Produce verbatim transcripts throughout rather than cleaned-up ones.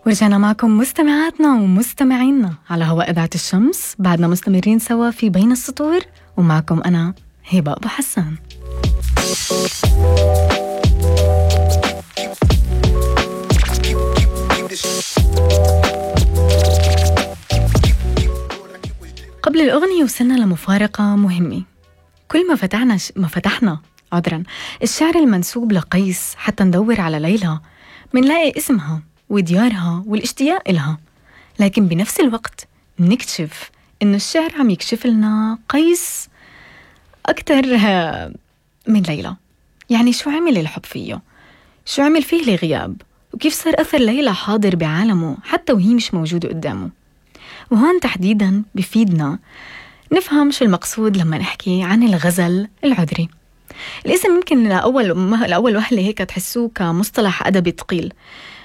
ورجعنا معكم مستمعاتنا ومستمعينا على هواء إذاعة الشمس. بعدنا مستمرين سوا في بين السطور، ومعكم أنا هبة أبو حسان. قبل الأغنية وصلنا لمفارقة مهمة. كل ما فتحنا ش... ما فتحنا عذرا الشعر المنسوب لقيس حتى ندور على ليلى، منلاقي اسمها وديارها والاشتياق إلها، لكن بنفس الوقت نكتشف إنه الشعر عم يكشف لنا قيس أكتر من ليلى. يعني شو عمل الحب فيه؟ شو عمل فيه الغياب؟ وكيف صار أثر ليلى حاضر بعالمه حتى وهي مش موجودة قدامه؟ وهون تحديداً بفيدنا نفهم شو المقصود لما نحكي عن الغزل العذري. الاسم ممكن لأول, لأول وهلة هيك تحسوه كمصطلح أدبي ثقيل،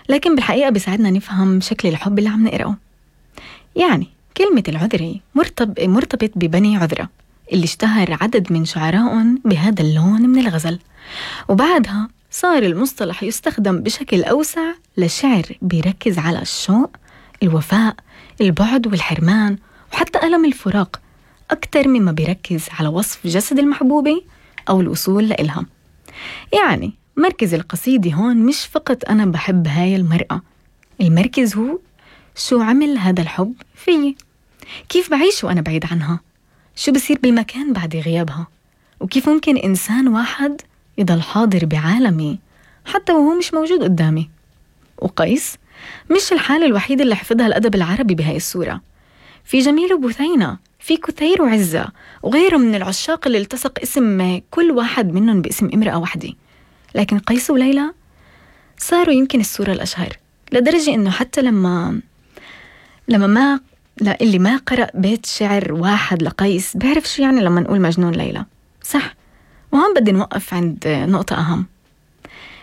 لكن بالحقيقة بيساعدنا نفهم شكل الحب اللي عم نقرأه. يعني كلمة العذري مرتب مرتبط ببني عذرة اللي اشتهر عدد من شعرائهم بهذا اللون من الغزل، وبعدها صار المصطلح يستخدم بشكل أوسع لشعر بيركز على الشوق، الوفاء، البعد والحرمان، وحتى ألم الفراق أكتر مما بيركز على وصف جسد المحبوبة أو الوصول لإلها. يعني مركز القصيدة هون مش فقط أنا بحب هاي المرأة، المركز هو شو عمل هذا الحب فيي، كيف بعيش وأنا بعيد عنها، شو بصير بالمكان بعد غيابها، وكيف ممكن إنسان واحد يضل حاضر بعالمي حتى وهو مش موجود قدامي. وقيس مش الحالة الوحيدة اللي حفظها الأدب العربي بهاي الصورة. في جميل وبثينة، في كثير وعزة وغيره من العشاق اللي التصق اسم كل واحد منهم باسم امرأة واحدة، لكن قيس وليلى صاروا يمكن الصورة الأشهر، لدرجة إنه حتى لما لما ما لا اللي ما قرأ بيت شعر واحد لقيس بيعرف شو يعني لما نقول مجنون ليلى، صح؟ وهم بدي نوقف عند نقطة أهم.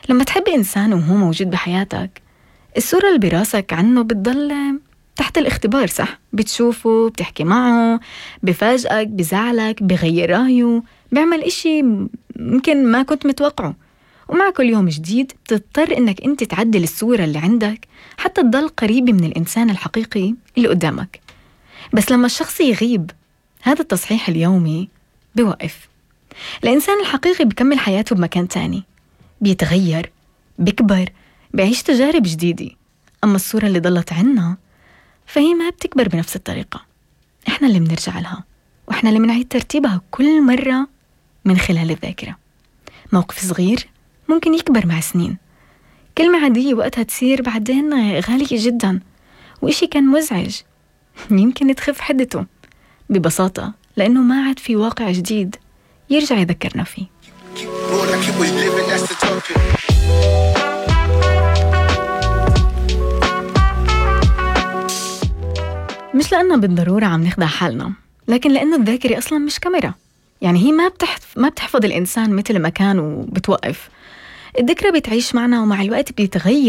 لما تحب إنسان وهو موجود بحياتك، الصورة اللي براسك عنه بتضل تحت الاختبار، صح؟ بتشوفه، بتحكي معه، بفاجئك، بزعلك، بغير رأيه، بيعمل إشي ممكن ما كنت متوقعه. ومع كل يوم جديد تضطر إنك أنت تعدل الصورة اللي عندك حتى تضل قريبة من الإنسان الحقيقي اللي قدامك. بس لما الشخص يغيب، هذا التصحيح اليومي بيوقف. الإنسان الحقيقي بيكمل حياته بمكان تاني، بيتغير، بيكبر، بيعيش تجارب جديدة. أما الصورة اللي ضلت عنا فهي ما بتكبر بنفس الطريقة. إحنا اللي بنرجع لها، وإحنا اللي بنعيد ترتيبها كل مرة من خلال الذاكرة. موقف صغير ممكن يكبر مع سنين، كلمة عادية وقتها تصير بعدين غالية جدا، وإشي كان مزعج يمكن تخف حدته ببساطة لأنه ما عاد في واقع جديد يرجع يذكرنا فيه. مش لأننا بالضرورة عم نخدع حالنا، لكن لأنه الذاكرة أصلا مش كاميرا. يعني هي ما بتحف... ما بتحفظ الإنسان مثل ما كان وبتوقف. الذكرى بتعيش معنا ومع الوقت بيتغير